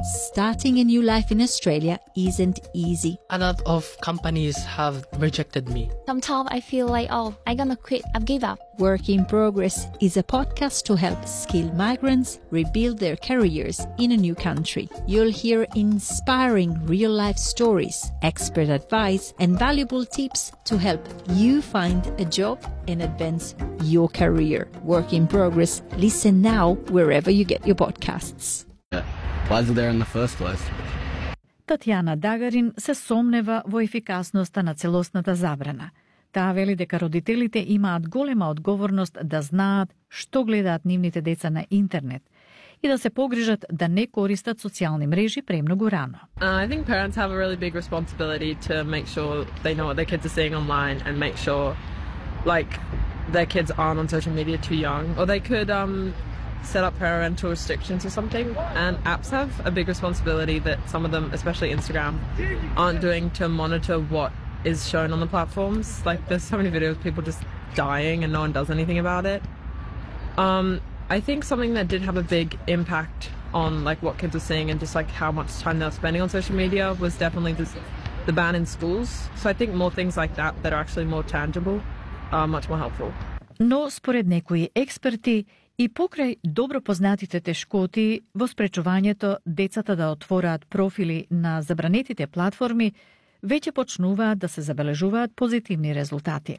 Starting a new life in Australia isn't easy. A lot of companies have rejected me. Sometimes I feel like, I'm gonna quit, I've give up. Work in Progress is a podcast to help skilled migrants rebuild their careers in a new country. You'll hear inspiring real-life stories, expert advice, and valuable tips to help you find a job and advance your career. Work in Progress. Listen now wherever you get your podcasts. Why is it there in the first place? Татјана Дагарин се сомнева во ефикасноста на целосната забрана. Таа вели дека родителите имаат голема одговорност да знаат што гледаат нивните деца на интернет и да се погрижат да не користат социјални мрежи премногу рано. I think parents have a really big responsibility to make sure they know what their kids are seeing online and make sure their kids aren't on social media too young, or they could set up parental restrictions or something. And apps have a big responsibility that some of them, especially Instagram, aren't doing to monitor what is shown on the platforms. Like, there's so many videos of people just dying and no one does anything about it. I think something that did have a big impact on what kids are seeing and just how much time they're spending on social media was definitely the ban in schools. So I think more things like that are actually more tangible are much more helpful. Но според некои експерти и покрај добро познатите тешкоти во спречувањето децата да отвораат профили на забранетите платформи, веќе почнуваат да се забележуваат позитивни резултати.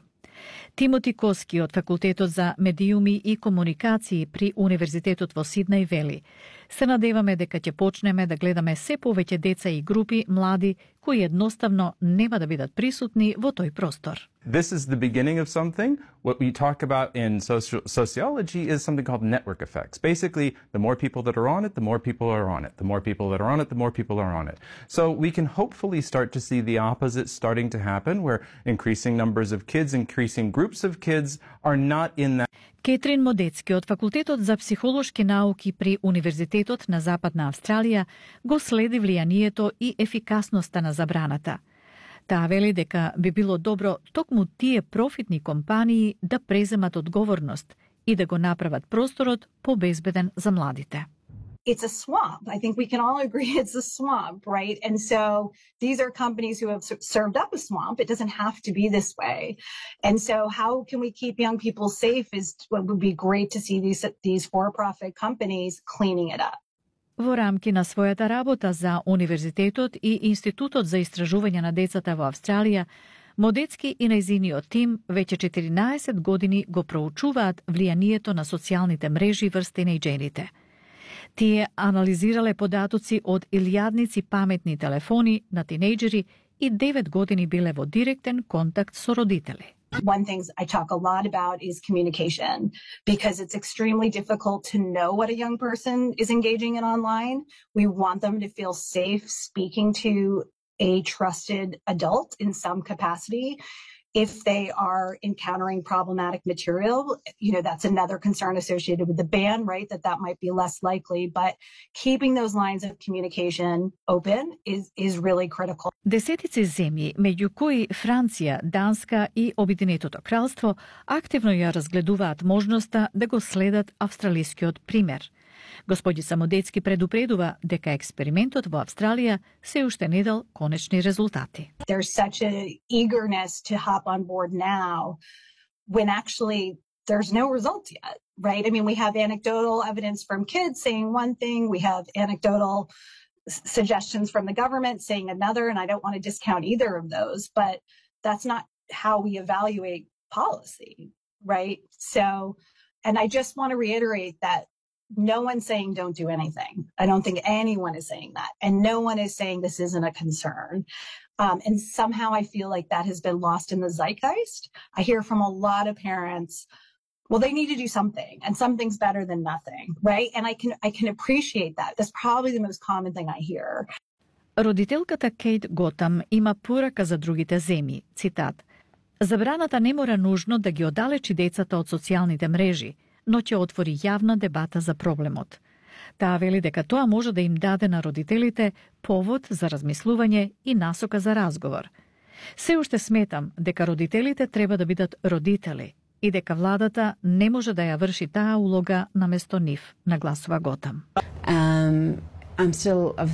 Тимоти Коски од Факултетот за медиуми и комуникации при Универзитетот во Сиднеј вели: се надеваме дека ќе почнеме да гледаме се повеќе деца и групи млади кои едноставно нема да бидат присутни во тој простор. This is the beginning of something. What we talk about in sociology is something called network effects. Basically, the more people that are on it, the more people are on it. The more people that are on it, the more people are on it. So we can hopefully start to see the opposite starting to happen, where increasing numbers of kids, increasing groups of kids are not in that. Кетрин Модецки од Факултетот за психолошки науки при Универзитетот на Западна Австралија го следи влијанието и ефикасноста на забраната. Таа вели дека би било добро токму тие профитни компании да преземат одговорност и да го направат просторот побезбеден за младите. It's a swamp. I think we can all agree it's a swamp, right? And so these are companies who have served up a swamp. It doesn't have to be this way. And so how can we keep young people safe is what would be great to see these for-profit companies cleaning it up. Во рамки на својата работа за Универзитетот и Институтот за истражување на децата во Австралија, Модецки и нејзиниот тим веќе 14 години го проучуваат влијанието на социјалните мрежи врз тинејџерите. Тие анализирале податоци од илјадници паметни телефони на тинејџери и 9 години биле во директен контакт со родители. One thing I talk a lot about is communication, because it's extremely difficult to know what a young person is engaging in online. We want them to feel safe speaking to a trusted adult in some capacity. If they are encountering problematic material, that's another concern associated with the ban, right? That might be less likely, but keeping those lines of communication open is really critical. Десетици земји, меѓу кои Франција, Данска и Обединетото кралство, активно ја разгледуваат можноста да го следат австралискиот пример. Господица Модецки предупредува дека експериментот во Австралија се уште не дал конечни резултати. There's such a eagerness to hop on board now when actually there's no results yet, right? I mean, we have anecdotal evidence from kids saying one thing, we have anecdotal suggestions from the government saying another, and I don't want to discount either of those, but that's not how we evaluate policy, right? So, and I just want to reiterate that no one's saying don't do anything. I don't think anyone is saying that. And no one is saying this isn't a concern. And somehow I feel like that has been lost in the zeitgeist. I hear from a lot of parents, well, they need to do something, and something's better than nothing, right? And I can appreciate that. That's probably the most common thing I hear. Родителката Кейт Готам има порака за другите земји. Цитат: забраната не мора нужно да ги оддалечи децата од социјалните мрежи, но ќе отвори јавна дебата за проблемот. Таа вели дека тоа може да им даде на родителите повод за размислување и насока за разговор. Се уште сметам дека родителите треба да бидат родители и дека владата не може да ја врши таа улога наместо нив, нагласува Готам. I'm still of